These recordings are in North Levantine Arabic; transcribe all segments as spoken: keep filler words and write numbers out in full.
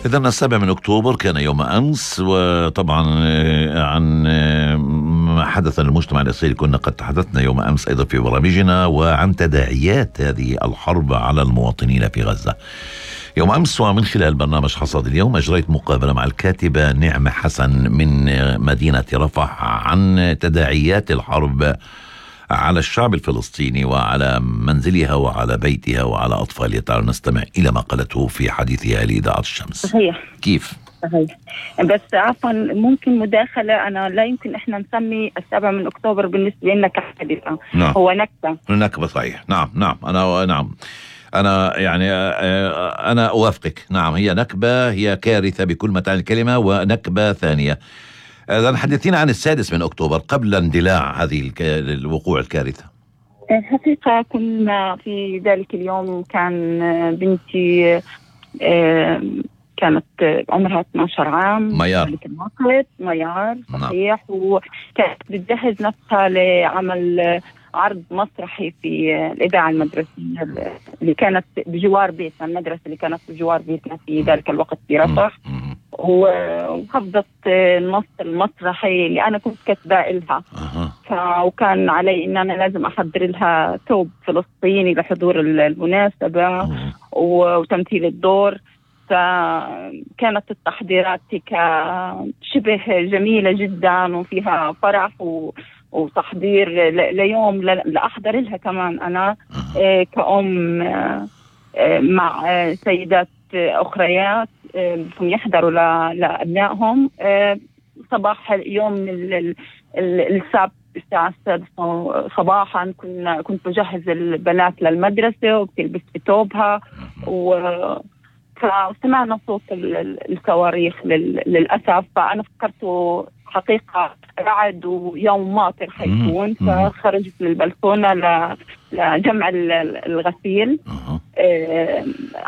إذن السابع من أكتوبر كان يوم أمس، وطبعا عن ما حدث للمجتمع الإسرائيلي كنا قد تحدثنا يوم أمس أيضا في برامجنا، وعن تداعيات هذه الحرب على المواطنين في غزة. يوم أمس ومن خلال برنامج حصاد اليوم أجريت مقابلة مع الكاتبة نعمة حسن من مدينة رفح عن تداعيات الحرب على الشعب الفلسطيني وعلى منزلها وعلى بيتها وعلى أطفالها. تعالوا نستمع إلى ما قالته في حديثها لإذاعة الشمس. صحيح. كيف؟ صحيح. بس عفوا ممكن مداخلة، أنا لا يمكن إحنا نسمي السابع من أكتوبر بالنسبة لنا كحادثة. نعم. هو نكبة. نكبة صحيح. نعم نعم أنا نعم أنا يعني أنا أوافقك. نعم هي نكبة، هي كارثة بكل ما تعني الكلمة، ونكبة ثانية. إذن حدثينا عن السادس من أكتوبر قبل اندلاع هذه الوقوع الكارثة. الحقيقة كنا في ذلك اليوم كان بنتي كانت عمرها اثني عشر عام. ميار. ميار صحيح. وكانت بتجهز نفسها لعمل عرض مسرحي في الإذاعة المدرسية اللي كانت بجوار بيتنا، المدرسة اللي كانت بجوار بيتنا في ذلك الوقت في رفح. وحفظت النص المسرحي اللي أنا كنت كاتباه لها. أه. وكان علي إن أنا لازم أحضر لها ثوب فلسطيني لحضور المناسبة. أه. وتمثيل الدور. فكانت التحضيرات شبه جميلة جدا وفيها فرح و وتحضير ليوم لأحضر لها كمان أنا كأم مع سيدات أخريات بدهم يحضروا لأبنائهم صباح يوم السبت الساعة السادسة صباحا. كنا كنت بجهز البنات للمدرسة وبتلبس بثوبها، و فسمعنا صوت الصواريخ للأسف. فأنا فكرته حقيقة رعد ويوم ماطر حيكون، فخرجت للبلكونة لجمع الغسيل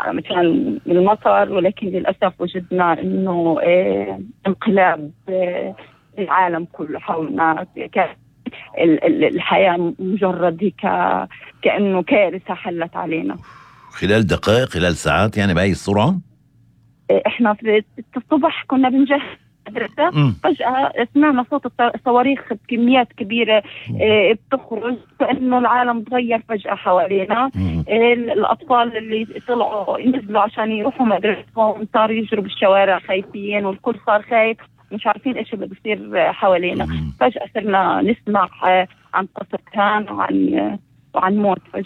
مكان المطر، ولكن للأسف وجدنا إنه انقلاب العالم كله حولنا. الحياة مجرد كأنه كارثة حلت علينا خلال دقائق، خلال ساعات، يعني بهاي السرعة. احنا في الصبح كنا بنجهز مدرسة، فجأة سمعنا صوت الصواريخ بكميات كبيرة اه بتخرج، كأنه العالم تغير فجأة حوالينا. اه الأطفال اللي طلعوا ينزلوا عشان يروحوا مدرستهم صاروا يجروا بالشوارع خايفين، والكل صار خايف مش عارفين ايش اللي بيصير حوالينا. فجأة صرنا نسمع اه عن قصف كان وعن وعن موت فجأة.